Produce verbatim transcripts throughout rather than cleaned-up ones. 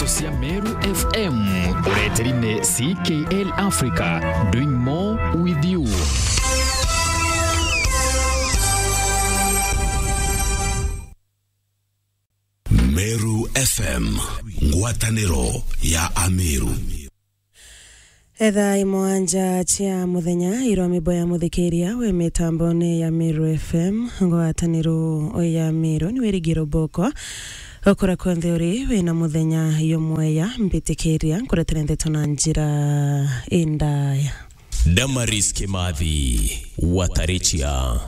Cia Meru F M, ureteri ni C K L Africa, doing more with you. Meru F M, ngwataniro ya Ameru. Etha imwanja cia muthenya, irwa mibo ya muthikiria wi mitambone ya Meru F M, ngwataniro ya Meru, ni wirigiro boko. Okura kwenthe uri, wina muthenya yumweya, mbitikiria nkuretere ndeto na njira indaya. Damaris Kimathi, Watarichia.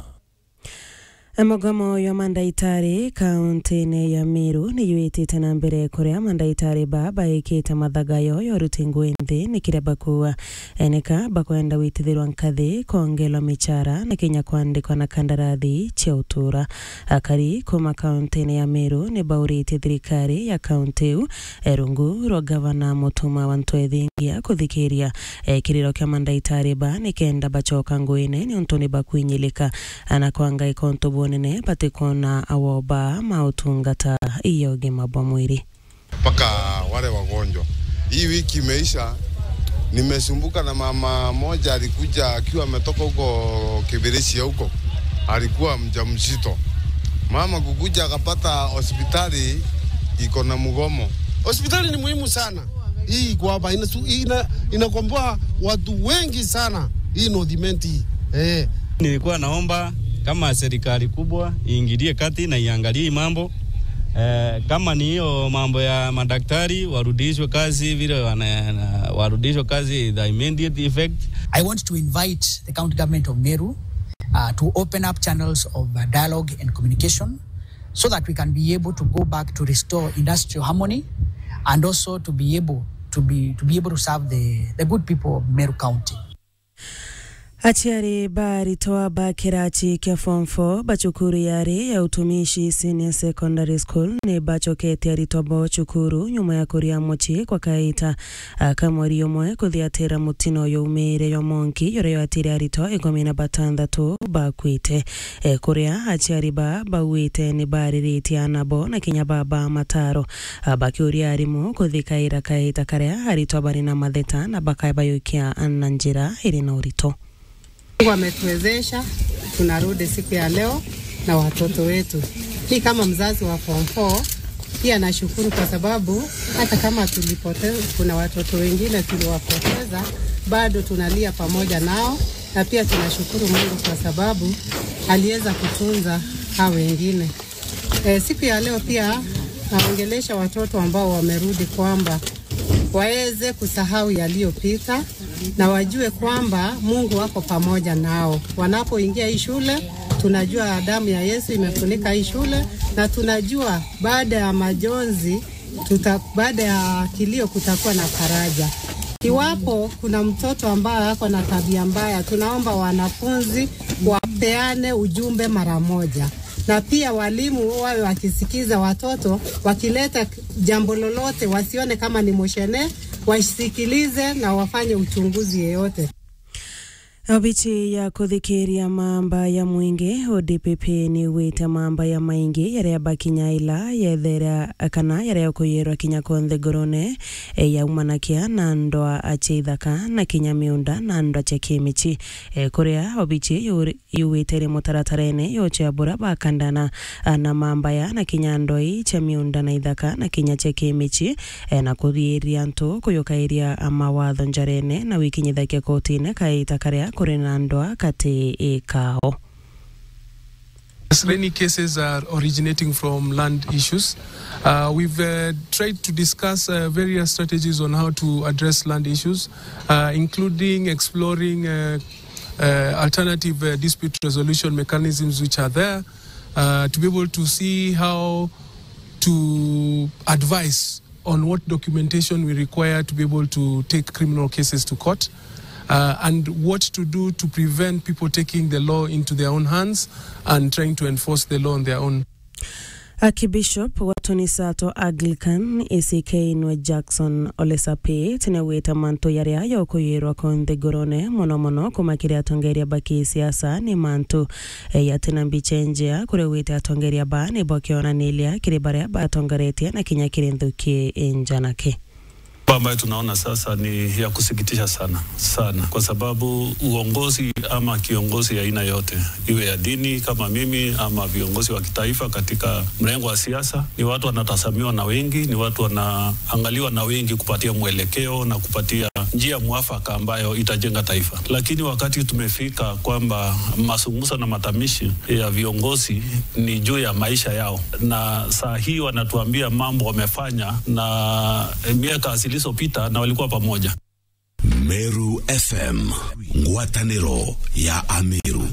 Mugomo jwa mandaitari kauntine ya Meru ni jwitite na mbere, kuria mandaitari ba baikite mathagayo ya uruti ngui nthi ni kiria bakuuga. Eneka bakwenda gwitithirwa nkathi, kwongelwa michara na kinya kwandikwa na kandarathi cia utura. Akari kuma kauntine ya Meru ni bauritie thirikari ya kaunti iu, e, rungu rwa gavana Mutuma wa Ntwethingia kuthikiria, e, kiriro kia mandaitari ba ni kenda bacoka nguine niuntu ni bakwinyilika. Ana kwa ngai kontu bwonene batikwona awoba ma utungata ya ugima bwa mwiri. Mpaka wale wagonjwa. Hii wiki imeisha, nimesumbuka na mama moja alikuja akiwa ametoka huko Kibirichia huko. Alikuwa mjamzito. Mama kukuja akapata hospitali iko na mgomo. Hospitali ni muhimu sana. Hii iko hapa, inasu-, ina-, inakomboa watu wengi sana. Hii North Imenti hii. Eh. Nilikuwa naomba kama serikali kubwa iingilie kati na iangalie hii mambo. Eh, kama ni hiyo mambo ya madaktari, warudishwe kazi vile wana-, warudishwe kazi the immediate effect. I want to invite the county government of Meru, uh, to open up channels of, uh, dialogue and communication so that we can be able to go back to restore industrial harmony and also to be able to be, to be able to serve the, the good people of Meru County. Aciari ba aritwa ba kirachi kia form four ba cukuru yari ya Utumishi Senior Secondary School ni bacokete aritwa bo cukuru nyuma ya kuria mucii kwa kaita aka mweri umwe kuthiatira mutino yaumiire yo monki yuria yatire aritwa ikumi na batandatu bakwite. E, kuria aciari ba bauite ni bariritie ana bo na kinya baba mataro, a, bakiuria arimu kuthikaira kaita karia aritwa bari na matheta na bakabayukia na njira iri na urito. Mungu ametuwezesha, tunarudi siku ya leo na watoto wetu. Mi kama mzazi wa form four, pia nashukuru kwa sababu hata kama tulipoteza, kuna watoto wengine tuliwapoteza, bado tunalia pamoja nao, na pia tunashukuru Mungu kwa sababu aliweza kutunza hao wengine. Eh, siku ya leo pia naongelesha watoto ambao wamerudi kwamba waweze kusahau yaliyopita na wajue kwamba Mungu wako pamoja nao. Wanapoingia hii shule, tunajua damu ya Yesu imefunika hii shule, na tunajua baada ya majonzi, tuta-, baada ya kilio kutakuwa na faraja. Iwapo kuna mtoto ambaye ako na tabia mbaya, tunaomba wanafunzi wapeane ujumbe mara moja. Na pia walimu wawe wakisikiza watoto, wakileta jambo lolote, wasione kama ni moshene, wasikilize na wafanye uchunguzi yeyote. Obichi ya kuthikiria mamba ya mwingi, O D P P, ni igwite mamba ya maingi yaria bakinya ila yethera kana yaria kuyirwa kinya konthe ngurune, e, yaumanakia na ndwa cia ithaka na kinya miunda na ndwa cia kimichi. E, kuria obichi yuri-, yugite iri mutaratarene yo cia bura bakandana, a, na mambaya na kinya ndoi cia miunda na ithaka na kinya cia kimichi, e, na kuthiiria antu kuyukairia, a, mawatho njarene na wikinyithakia kotine kaita karia kuri na ndwa kati kao. As many cases are originating from land issues, uh, we've, uh, tried to discuss, uh, various strategies on how to address land issues, uh, including exploring, uh, uh, alternative, uh, dispute resolution mechanisms which are there, uh, to be able to see how to advise on what documentation we require to be able to take criminal cases to court, uh, and what to do to prevent people taking the law into their own hands and trying to enforce the law on their own. Archbishop wa Tunisato Anglican A C K nwe Jackson Ole Sapit niaugite mantu jaria jokuyirwa ku nthigurune, mono mono kuuma kiri atongeria ba kisiasa, ni mantu, eh, jatina mbicha injea, kuria augite atongeria ba nibo kionaniria kiri baria batongeretie na kinya kiri nthuki injanake. Ambayo tunaona sasa ni ya kusikitisha sana, sana, kwa sababu uongozi ama kiongozi ya aina yote, iwe ya dini kama mimi ama viongozi wa kitaifa katika mrengo wa siasa, ni watu wanatazamiwa na wengi, ni watu wanaangaliwa na wengi kupatia mwelekeo na kupatia njia mwafaka ambayo itajenga taifa. Lakini wakati tumefika kwamba mazungumzo na matamshi ya viongozi ni juu ya maisha yao, na saa hii wanatuambia mambo wamefanya na miaka zilizopita na walikuwa pamoja. Meru F M, ngwataniro ya Ameru.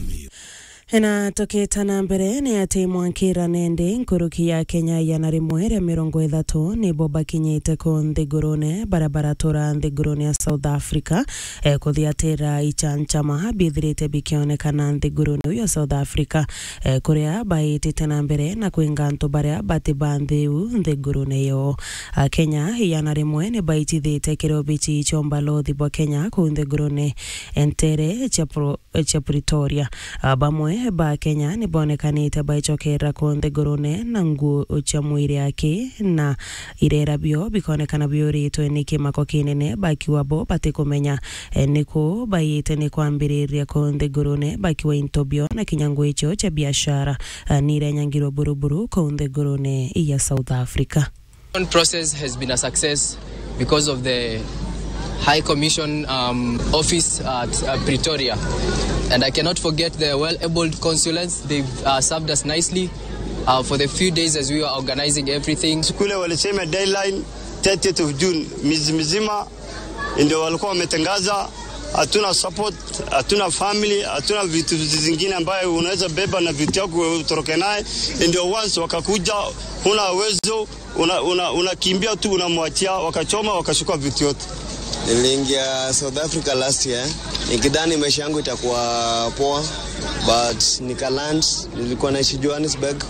Na tukita na mbere, ni ati mwankira nende nkuruki ya Kenya igana rimwe ria mirongo ithatu nibo bakinyite ku nthigurune, baria baratura nthigurune ya South Africa, eh, kuthiatira ichanchama bithirite bikionekana nthigurune iu ya South Africa, eh, kuria baitite na mbere na kwinga antu baria bati ba nthiu nthigurune iyo. Akenya igana rimwe ni baitithite kiri obichi cia umbalothi bwa Kenya kuu nthigurune ntere cia Pro-, cia Pretoria. A, bamwe ba Kenya ni bonekanite baicokera ku nthigurune na nguo cia mwiri aki na irera bio bikonekana biuritwe ni kimako kinene, bakiuga bo batikumenya, e, niku baite ni kwambiriria ku nthigurune, bakiuga into bio na kinya nguo icio cia biashara, a, ni irenyangirwe buruburu ku nthigurune ya South Africa. Process has been a success because of the High Commission, um, office at, uh, Pretoria. And I cannot forget the well-abled consulants. They've, uh, served us nicely, uh, for the few days as we were organizing everything. Siku ile walisema deadline thirtieth of June, miezi mizima ndio walikuwa wametangaza. Hatuna support, hatuna family, hatuna vitu zingine ambayo unaweza beba na vitu yako utoroke naye. Ndio once wakakuja, huna uwezo, una-, una-, unakimbia tu, unamwachia, wakachoma, wakachukua vitu yote. Niliingia South Africa last year nikidhani maisha yangu itakuwa poa, but nikaland, nilikuwa naishi Johannesburg.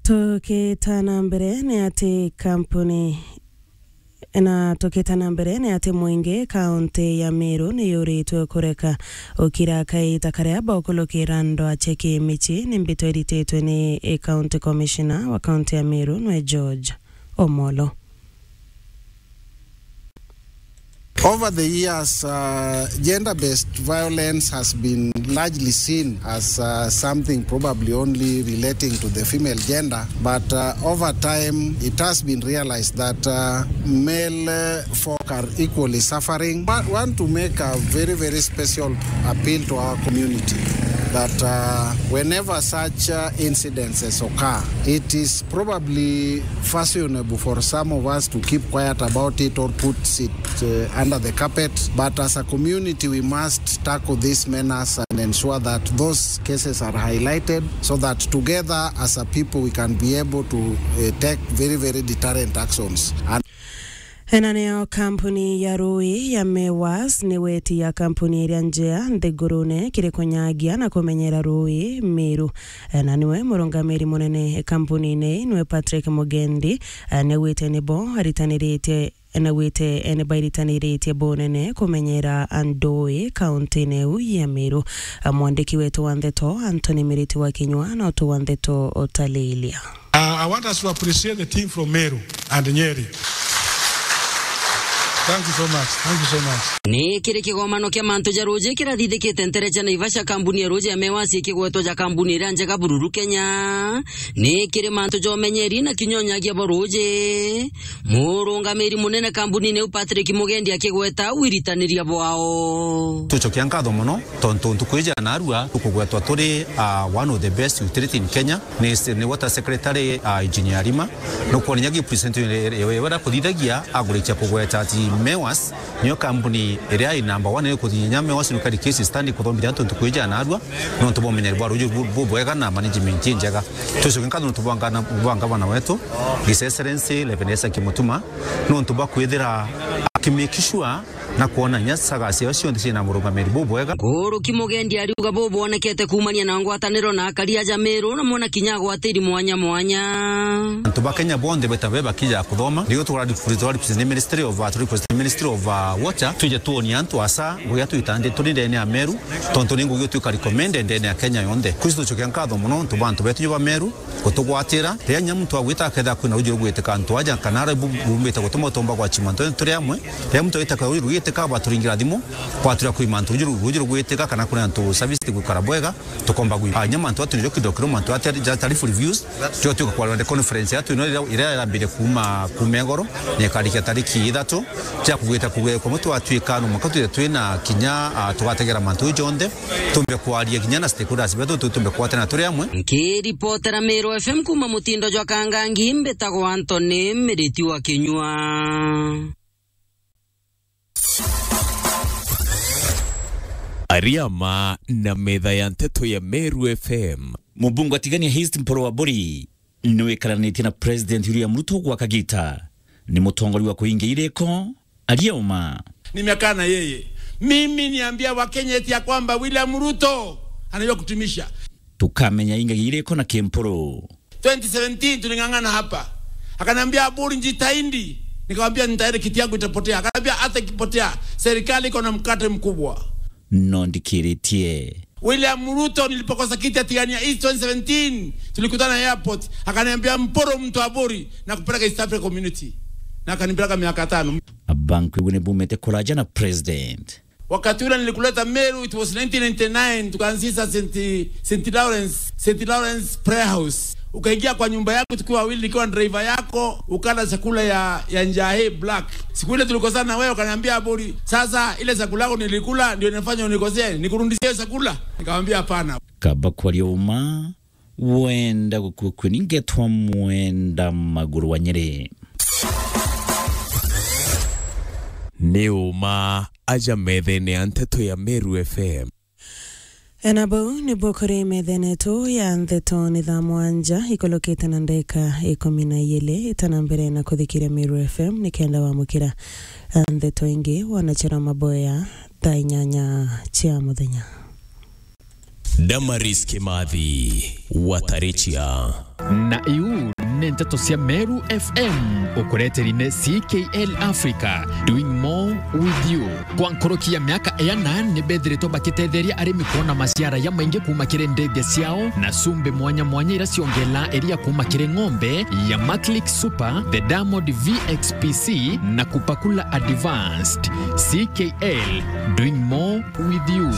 Tukita na mbere ni ati kampuni, na tukita na mbere ni ati mwingi kaunti ya Meru ni yuritwe kureka ukira kaita karia bakulukira ndwa cia kimichi ni mbito irititwe ni county commissioner wa kaunti ya Meru nwe George Omolo. Over the years, uh, gender-based violence has been largely seen as, uh, something probably only relating to the female gender, but, uh, over time it has been realized that, uh, male, uh, folk are equally suffering. Wa-, want to make a very, very special appeal to our community that, uh, whenever such, uh, incidences occur, it is probably fashionable for some of us to keep quiet about it or put it, uh, under the carpet. But as a community, we must tackle this menace and ensure that those cases are highlighted so that together as a people we can be able to, uh, take very, very deterrent actions. And Ena niyo kampuni ya rui ya Mewas ni weti ya kampuni iria njea nthigurune kiri kunyagia na kumenyera rui Meru. Na niwe murungamiri munene kampunine ii, niwe Patrick Mugendi, eh, niaugite nibo aritaniritie, niaugite, eh, nibairitaniiritie bunene kumenyera ndui kauntine iu ya Meru. Eh, mwandiki wetu wa ndeto Anthony Miriti wa Kinyua na utu wa ndeto utalilia. Uh, I want us to appreciate the team from Meru and Nyeri. Thank you so much. Thank you so much. Ni kiri kigomano kia mantu ja ruuji kirathithikite ntere cia Naivasha, kambuni ya ruuji ya Mewas ikigwetwa ja kambuni iria njega bururu Kenya. Ni kiri mantu ja umenyeri na kinya unyagia bwa ruuji, murungamiri munene kambunine iu Patrick Mugendi akigweta wiritaniria bwao. Tucokia nkatho mono tontu ntuku iji ya narua tukugwetwa turi, uh, one of the best utility in Kenya. Ni, ni water secretary, uh, Engineer Rima. Nukwona inya gi presentation iri, iri, iri, iri kuthithagia agurikia kugweta ati Mewas niyo kambuni iria i number one iri kuthinya Mewas nukari case study kuthomithia antu ntuku iji ya narua, nontu bwa umenyeri bwa ruuji bu-, bubwega na management injega. Tucoke nkatho nontu bwa ngana-, bwa ngavana wetu, His Excellency Reverend Isaac Mutuma, nontu bwa kwithira aki make sure na kwona inya saga ciao cionthe ciina murugamiri bubwega. Nkuruki Mugendi ariuga bubwonekete kuumania na ngwataniro na akari aja Meru, na mwona kinya agwatiri mwanya mwanya. Antu ba Kenya bonthe beta be bakija kuthoma, nigo tukora request, tukora request ni Ministry of, uh, request ni Ministry of, uh, Water, twije tuonie antu asa ngugi iria twitandi turi ndene ya Meru, tontu ni ngugi itwika recommended ndene ya Kenya yonthe. Kwisi tucokia nkatho mono ntu ba antu betu ba Meru gutugwatira. Riria inya muntu agwita akethira kwina ruuji rugwitika antu aja, kana aria bu-, bumbite gutuma utomba gwachima antu turi amwe. Riria muntu agwita ruuji rugwitika, bwaturingira thimu, bwaturia kwima antu ruuji ru-, ruuji rugwitika, kana kwina antu service tigwikara bwega, tukomba gwi-, ah, inya mantu atu nijo kidogo kidogo mantu ati ja tarifu reviews, tio tuka kwa rwande conference yatu ino iria, iria irambire kuuma, kuuma igoro, na ikarikia tariki ithatu, cia kugwita kuge-, kwa mutu atwika no mwanka twithe twina kinya, ah, tugategera mantu jonthe. Tumbe kwaria kinya na stakeholders betu, tu-, tumbe kwatana turi amwe. Nkiripotera Meru F M kuuma mutindo jwa Kangangi, mbitagwa Anthony Miriti wa Kinyua. Ariama na metha ya nteto ya Meru F M. Mubunge wa Tigania East Mpuru wa Buri niwikaranitie na President William Ruto gwa kagita. Ni mutongoria wa kuingia iriko, Arioma. Nimekaa na yeye. Mimi niambia Wakenya eti ya kwamba William Ruto anajua kutumisha. Tukamenya ingagia iriko na Kimpuru. Twenty seventeen tuling'ang'ana hapa. Akaniambia, "Aburi, njitahidi." Nikamwambia, "Nitahidi, kiti yangu itapotea." Akaniambia, "Hata ikipotea, serikali iko na mkate mkubwa." No ndikiritie. William Ruto, nilipokosa kiti ya Tigania East twenty seventeen, tulikutana airport. Akaniambia, "Mpuru mtu Aburi, na kupeleka East Africa Community." Na akanipeleka miaka tano. Abankwigua ni bumite kuraja na president. Wakati ule nilikuleta Meru, it was nineteen ninety-nine, tukaanzisha Saint, Saint Lawrence, Saint Lawrence Prayer House. Ukaingia kwa nyumba yangu tukiwa wawili, nikiwa driver yako, ukala chakula ya, ya njahi black. Siku ile tulikosana na wewe, ukaniambia, "Aburi, sasa ile chakula yako nilikula ndio inafanya unikosee, nikurudishie hiyo chakula?" Nikamwambia, "Hapana." Kaba kwaria uma, wenda gukua kwe ningetwa mwenda maguru wa Nyeri. Ni uma aja methene ya nteto ya Meru F M. Ena bau nibo kuri methene yetu ya nteto ni thaa mwanja ikolokete na ndeka ikumi na ijiri. Itana mbere na kuthikiria Meru F M ni kenda wamukira nteto ingi wanachera maboya thaa inyanya cia muthenya. Damaris Kimathi, Watarichia. Na iu ni nteto cia Meru F M, ukureteri ni C K L Africa, doing more with you. Kwa nkuruki ya miaka iana, ni bethiritwe bakitetheria arimi kwona maciara ya maingi kuuma kiri ndege ciao, na cumbi mwanya mwanya ira ciongela iria kuuma kiri ng'ombe ya Maclick Super, the Diamond V X P C, na Kupakula Advanced. C K L, doing more with you.